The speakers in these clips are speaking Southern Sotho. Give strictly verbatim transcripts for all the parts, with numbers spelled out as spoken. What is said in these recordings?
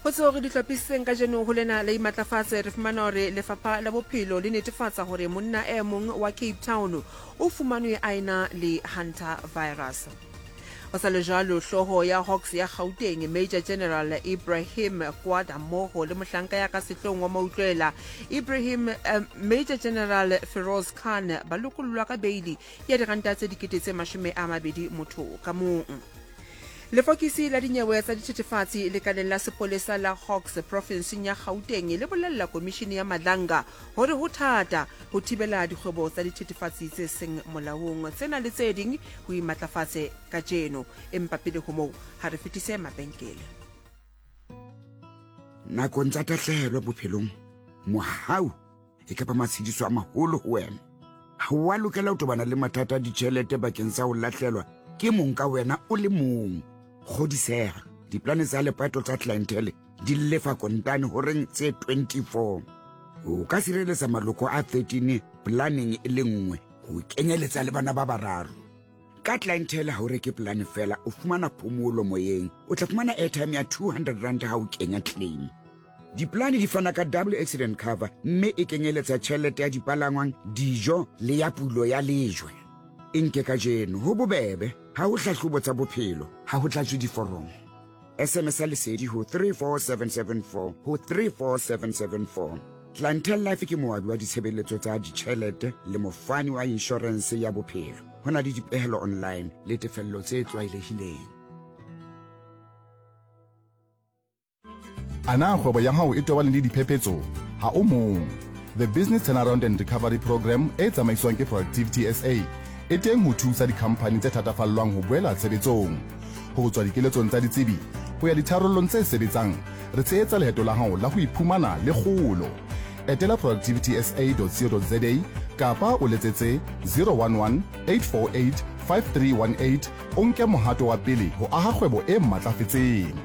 Ho tseo re di hlophisitseng kajeno ho lena la imatlafatse, re fumana hore lefapha la bophelo le netefatsa hore monna e mong wa Cape Town o fumanwe a ena le hantavirus. Ho sa le jwalo, hlooho ya Hawks ya Gauteng, Major General Ibrahim Kwada, mmoho le mohlanka ya ka sehloohong wa mautlwela Ibrahim eh, Major General Feroz Khan ba lokollwa ka beili ya diranta tse dikete tse mashome a mabedi motho ka mong. Lefokisi la dinyewe tsa dithethefatsi lekaleng la sepolesa la Hawks profinseng ya Gauteng le bolella komishini ya Madlanga hore ho thata ho thibela dikgwebo tsa dithethefatsi tse seng molaong. Tsena le tse ding ho imatlafatse kajeno, empa pele ho moo ha re fetise mabenkele. Nakong tsa tahlehelo bophelong, mohau e ka ba matshediso a maholo ho wena. Ha o a lokela ho tobana le mathata a ditjhelete bakeng sa ho lahlelwa ke mong ka wena o le mong. Kgodiseha, diplane tsa lepato tsa Clientele di lefa kontane horeng tse twenty-four. O ka sireletsa maloko a thirteen planeng e le nngwe, ho kenyeletsa le bana ba bararo. Ka Clientele ha o reke plane feela, o fumana phomolo moyeng. O tla fumana airtime ya two hundred rand ha o kenya claim. Diplane di fana ka double accident cover mme e kenyeletsa tjhelete ya dipalangwang, dijo le ya pulo ya lejwe. E nke kajeno, ho bobebe, ha ho hlahlobo tsa bophelo, ha ho tlatswe diforomo. S M S ya lesedi ho three four seven seven four ho three four seven seven four. Clientele Life ke moabi wa ditshebeletso tsa ditjhelete le mofani wa inshorense ya bophelo. Ho na le dipehelo online le tefello tse tlwaelehileng. A na kgwebo ya hao e tobane le diphephetso? Ha o mong. The Business Turnaround and Recovery Program e tsamaiswang ke Productivity S A e teng ho thusa dikhamphani tse thatafallwang ho boela tshebetsong. Ho tswa dikeletsong tsa ditsebi ho ya ditharollong tse sebetsang, re tshehetsa leeto la hao la ho iphumana le kgolo. Etela productivity s a dot co dot za kapa o letsetse zero one one, eight four eight, five three one eight o nke mohato wa pele ho aha kgwebo e matlafetseng.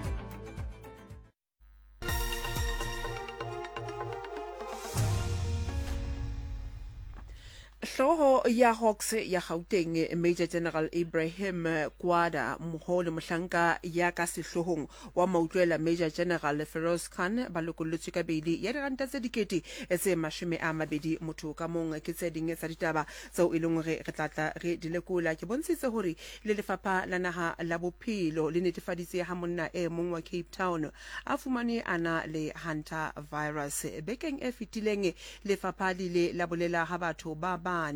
Hlooho ya Hawks ya Gauteng, Major General Ibrahim Kwada, mmoho le mohlanka ya ka sehloohong wa mautlwela Major General Feroz Khan ba lokolletswe ka beili ya diranta tse dikete tse mashome a mabedi motho ka mong. Ke tse ding tsa ditaba tseo e leng hore re tla tla re di lekola. Ke bontshitse hore le lefapha la naha la bophelo le netefaditse ha monna e mong wa Cape Town a fumanwe a na le hantavirus. Bekeng e fetileng lefapha le ile la bolela ha batho ba bane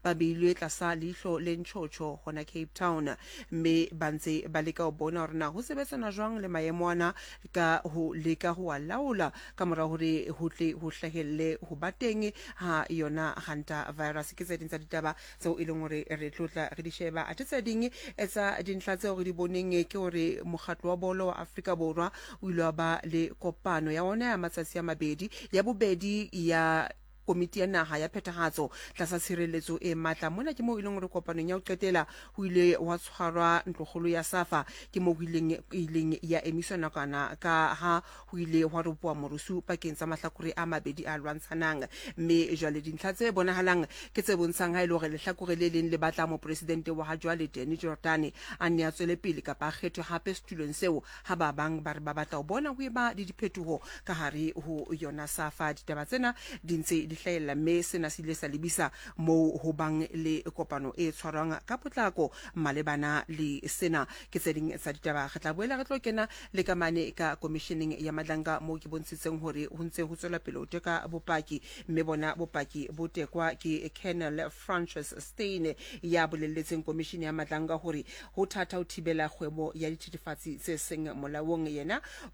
ba beilwe tlasa leihlo le ntjhotjho hona Cape Town, mme ba ntse ba leka ho bona hore na ho sebetsana jwang le maemo ana ka ho leka ho a laola ka mora hore ho tle ho hlahelle ho ba teng ha yona hantavirus. Ke tse ding tsa ditaba tseo e leng hore re tlotla re di sheba. Athe tse ding tsa dintlha tseo re di boneng ke hore mokgatlo wa bolo wa Afrika Borwa o ile wa ba le kopano ya ona ya matsatsi a mabedi, ya bobedi ya komiti ya naha ya phethahatso tlasa tshireletso e matla. Mona ke moo e leng hore kopanong ya ho qetela ho ile wa tshwarwa ntlokgolo ya SAFA, ke moo ho ileng, ileng ya emiswa nakwana ka ha ho ile hwa ropoha morusu pakeng tsa mahlakore a mabedi a lwantshanang. Mme jwale dintlha tse bonahalang ke tse bontshang ha e le hore lehlakore le leng le batla mopresidente wa ha jwale Danny Jordaan a nne a tswele pele kapa a kgethwe hape setulong seo, ha ba bang ba re ba batla ho bona ho eba le diphetoho ka hare ho yona SAFA. Ditaba tsena di ntse di hlahella, mme sena se ile sa lebisa moo ho bang le kopano e tshwarwang ka potlako malebana le sena. Ke tse ding tsa ditaba. Re tla boela re tlo kena le ka mane ka komisheneng ya Madlanga moo ke bontshitseng hore ho ntse ho tswela pele ho teka bopaki, mme bona bopaki bo tekwa ke Colonel Francis Steyn ya bolelletseng komishene ya Madlanga hore ho thata ho thibela kgwebo ya dithethefatsi tse seng molaong. Yena